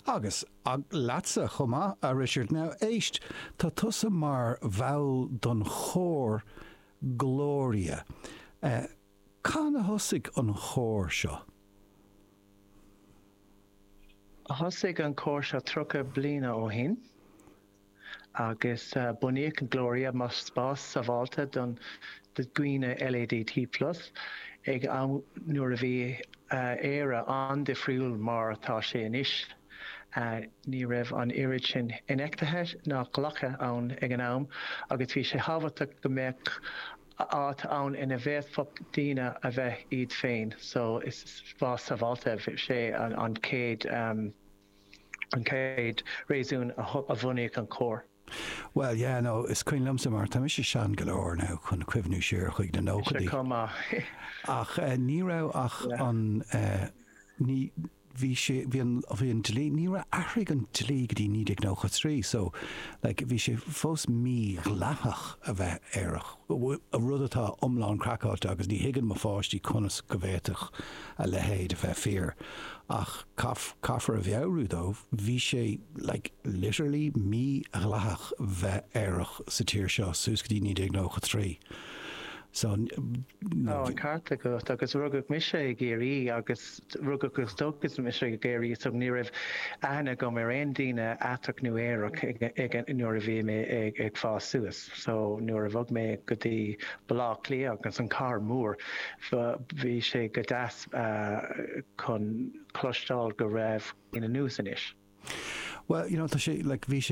Agus leatsa chomh maith, a Richard. Now, éist, tá tusa mar bhall don chór Gloria. Cathain a thosaigh an chór seo? Thosaigh an cór seo 30 bliana ó shin agus bunaíodh an Gloria mar spás sábháilte don dhaoine LADT plus ag am nuair a bhí Éire an-difriúil mar atá sé anois. Ní raibh an oiread sin infheictheachta ná glactha ann ag an am agus bhí sé thábhachtach go mbeadh áit ann ina bhféadfadh daoine a bheith iad féin. So is spás sábháilte sé an chéad an chéad réasún a bhunaíodh an cór. Bhuel, yeah, no, is cuimhin liomsa mar tá mise sean go leor now chun cuimhniú siar chuig na nóchaidí. Mise chomh maith. Ach ní raibh ach an, ní, bhí sé, bhí an, bhí an dlí, ní raibh, athraigh an dlí go dtí 1993 so, like, bhí sé fós mídhleathach a bheith aerach, rud atá iomlán craiceáilte agus ní thuigeann mo pháistí conas go bhféadfadh a leithéid a bheith fíor. Ach caithfear a mheabhrú dóibh, bhí sé, like, literally mídhleathach bheith aerach sa tír seo suas go dtí 1993. So, Tá an ceart agat agus rugadh mise i gCiarraí agus rugadh agus tógadh mise i gCiarraí so ní raibh aithne agam ar aon daoine aiteach nó aerach ag nuair a bhí mé ag fás suas. So nuair a bhog mé go dtí Baile Átha Cliath agus an cathair mór bhí sé go deas chun cloisteáil go raibh daoine anuas anois. Well, you know, tá sé, like, bhí sé.